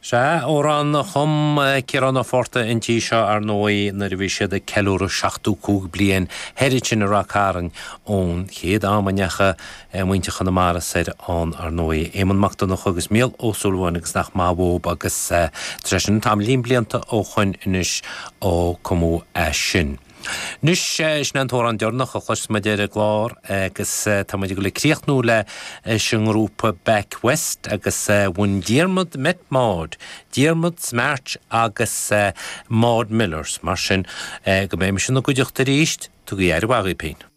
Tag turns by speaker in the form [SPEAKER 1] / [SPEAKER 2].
[SPEAKER 1] Sea, amhrán a chum Ciarán Ó Fátharta an tí seo, ar ndóigh, nuair a bhí siad ag ceiliúradh 75 bliain thoir ansin i Ráth Cairn ón chéad am a ndeachaigh muintir Chonamara soir ann, ar ndóigh. Éamonn Mac Donncha agus Mícheál Ó Súilleabháin agus nach maith uathub agus tá sé sin tamaillín blianta ó shoin anois ó cumadh é sin. Anois, sin é an t-amhrán deireanach a chloisfeas muid ar an gclár agus tá muid ag dul ag críochnú leis an ngrúpa Back West agus When Diarmuid Met Maud, Diarmuid's March agus Maud Millers. Mar sin, go mbeidh mise ina gcuideachta arís, tugaigí aire mhaith dhaoibh féin.